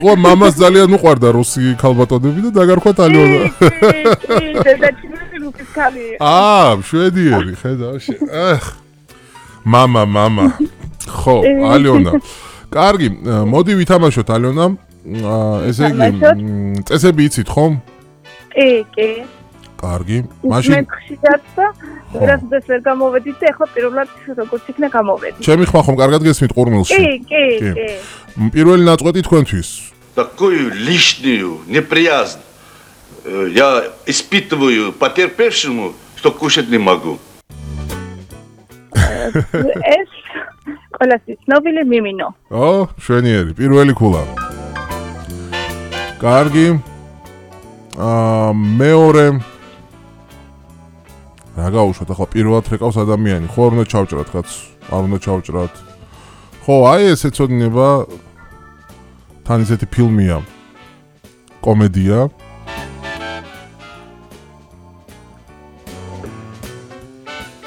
ყო მამას ძალიან უყვარდა რუსი ქალბატონები და დაგარქვა ალიონა. დედაჩიმი რუსის ქალი. შვედიერი, ხედავ. მამა. ხო, ალიონა. კარგი, მოდი ვითამაშოთ ალიონა. ესე იგი, წესები იცით ხომ? კი. კარგი. მაშინ მე ხშირად და ვერასოდეს ვერ გამოვედით და ეხლა პირველად როგორც იქნა გამოვედი. ჩემი ხმა ხომ კარგად გესმით ყურმილში? კი. პირველი ნაწყვეტი თქვენთვის. Такую лишнюю неприязнь я испытываю потерпевшему, что кушать не могу. ეს ყველასთვის ცნობილი მიმინო. შვენიერი, პირველი ქულა. კარგი. მეორე რა გაუშვათ ახლა პირველად რეკავს ადამიანი, ხო არ უნდა ჩავჭრათ კაც, არ უნდა ჩავჭრათ. ხო, აი ეს ეცოდინება თან ისეთი ფილმია. კომედია.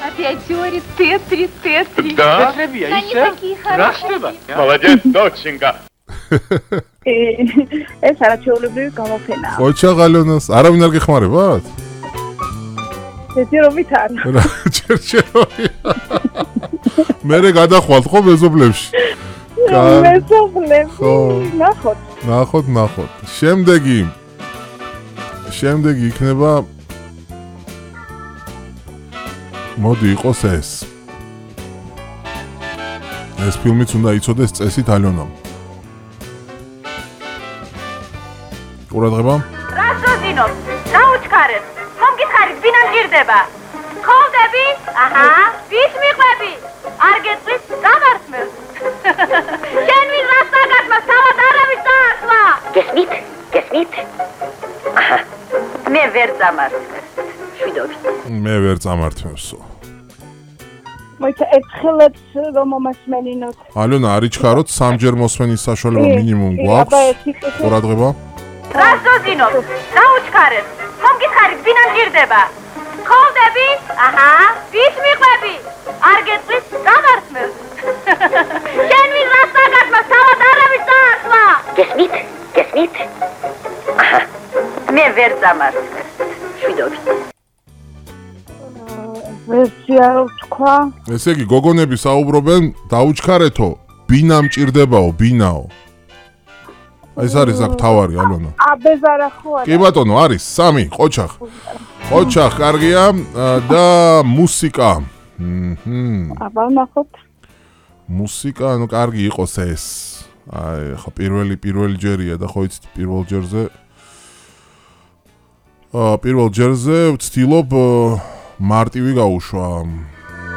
Опять теория Т3. Да, Растева. Молодец, доченька. ეს არაჩვეულებრივი გამოფენაა. ოჩაღ ალიონას, არავინ არ გეხმარებათ? ჯერჯერობით არა. ჯერჯერობით. მერე გადახვალთ ხო მეზობლებში? მეზობლებში. ნახოთ. შემდეგი იქნება მოდი იყოს ეს. ეს ფილმიც უნდა იცოდეს წესით ალიონამ. ყურადღება. რასოზინო, დაუჩქარებ. ხომ გითხარით, ვინ ამჭირდება? ხოვდები? აჰა, ვის მიყვები? არ გეტყვის, დამართმევს. შენ ვის რასაგადმა, თავად არავის დაასვა. გესმით? აჰა, მე ვერ დამართმევს. შვიდობით. მე ვერ წამართმევსო. მოიცა ერთხელაც რომ მომასმენინოთ. ალიონა არ იჩქაროთ, სამჯერ მოსმენის საშუალება მინიმუმ გვაქვს. ყურადღება. რასოზინო, დაუჩქარებ. ხომ გითხარით, ვინ ამჭირდება? ხოვდები? აჰა, ვის მიყვები? არ გეტყვის, დამართმევს. შენ ვის რასაგადმა, თავად არავის დაასვა. გესმით? აჰა, მე ვერ დამართმევს. შვიდობით. ვერსია თქვა. ესე იგი, გოგონები საუბრობენ, დაუჩქარეთო, ბინა მჭირდებაო, ბინაო. ეს არის აქ თავარი, ალონა. აბეზარა ხო არა? კი ბატონო, არის 3, ყოჩახ. ყოჩახ, კარგია და მუსიკა. აბა ნახოთ. მუსიკა, ну კარგი იყოს ეს. აი, ხო პირველი ჯერია და ხო იცით პირველ ჯერზე ვცდილობ მარტივი გაუშვა.